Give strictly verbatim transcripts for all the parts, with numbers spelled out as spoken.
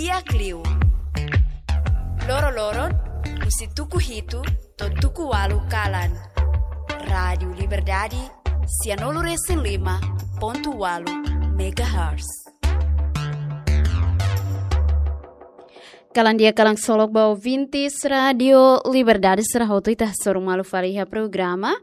Di'ak liu. Loro-loron, husi tuku hitu to'o tuku ualu kalan. Rádiu Liberdade, sianulu-resin-lima pontu ualu megahertz. Kalan di'ak, kalan ksolok ba ouvintes Rádiu Liberdade sira hotu, ita hasoru malu fali iha programa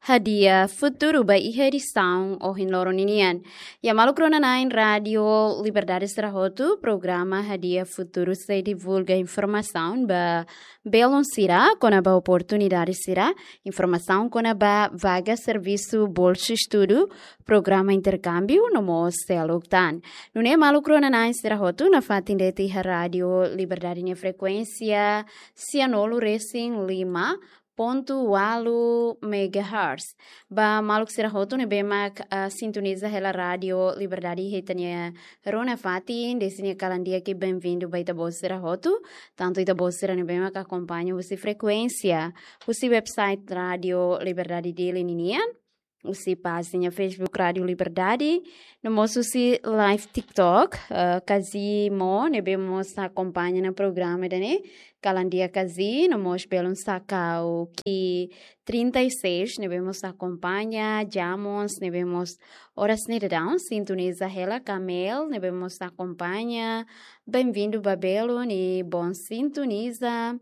Hadi'a Futuru ba iha edisaun ohin loron ninian. Iha maluk rona-na'in Rádiu Liberdade sira hotu, programa Hadi'a Futuru sei divulga informasaun ba belun sira kona-ba oportunidade sira, informasaun kona-ba vaga servisu, bolsa estudu, programa interkámbiu no mós seluk tan. Nune'e maluk rona-na'in sira hotu nafatin de'it iha Rádiu Liberdade nia frekuénsia sianulu-resin-lima pontu ualu megahertz. Ba maluk sira hotu ne'ebé mak, ah, sintoniza hela Rádiu Liberdade iha ita-nia rona-fatin, dezde nia kalan di'ak i benvindu ba ita-boot sira hotu, tantu ita-boot sira ne'ebé mak akompaña husi frekuénsia, husi website Rádiu Liberdade Dili ninian, husi pájina Facebook Rádiu Liberdade, no mós husi live TikTok, eh, Kazi Mo, ne'ebé mós akompaña ona programa ida-ne'e, kalan di'ak Kazi, no mós belun Sakau Ki trinta e seis, ne'ebé mós akompaña, Jamons, ne'ebé mós oras ne'e daudaun sintoniza hela, Kamel, ne'ebé mós akompaña, benvindu ba belun i bon sintoniza.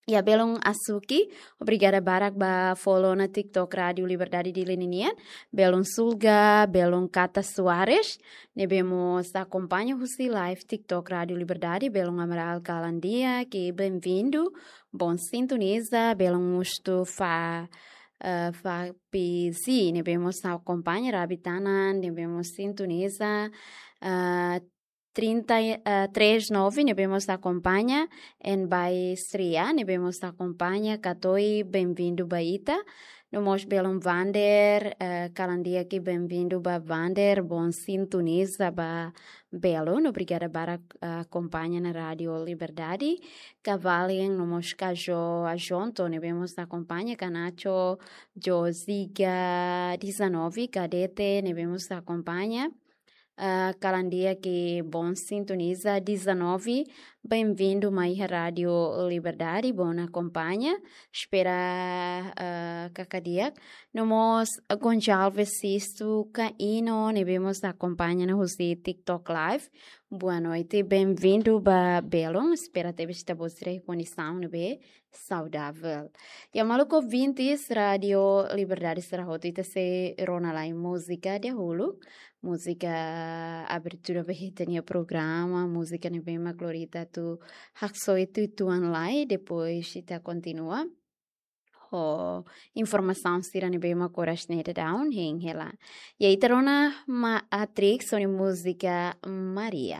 Iha belun Asuki, obrigada barak ba follow ona TikTok Rádiu Liberdade Dili ninian. Belun Sulga, belun Kata Soares, ne'ebé mós akompaña husi live TikTok Rádiu Liberdade, belun Amaral kalan di'ak i benvindu, bon sintoniza, belun Mustafa, eh, Fapizi, ne'ebé mós akompaña, Rabi Tanan, ne'ebé mós sintoniza, eh, trinta, eh, três nove, ne'ebé mós akompaña, en bai Sria, ne'ebé mós akompaña, Katoi, benvindu ba ita. No mós belun Vander, eh, kalan di'ak i benvindu ba Vander, bon sintoniza ba belun, obrigada barak, eh, akompaña ona Rádiu Liberdade. Kavalin, no mós Kajo Ajonto, ne'ebé mós akompaña, Kanacho, Joziga dezanove, Kadete, ne'ebé mós akompaña. Ah, kalan di'ak i bon sintoniza dezanove, benvindu mai iha Rádiu Liberdade, bon akompaña, espera, ah, katak di'ak. No mós Gonçalves Sisto Caino, ne'ebé mós akompaña ona husi TikTok Live. Boa noite, benvindu ba belun, espera tebes ita-boot sira iha kondisaun ne'ebé saudavel. Iha maluk ouvintes Rádiu Liberdade sira hotu, ita sei rona lai múzika dahuluk. Múzika abertura ba ita-nia programa, múzika ne'ebé mak lori ita atu haksoit uitoan lai, depois ita kontinua ho informasaun sira ne'ebé mak oras ne'e daudaun hein hela. Iha ita rona Matrix ho nia múzika Maria.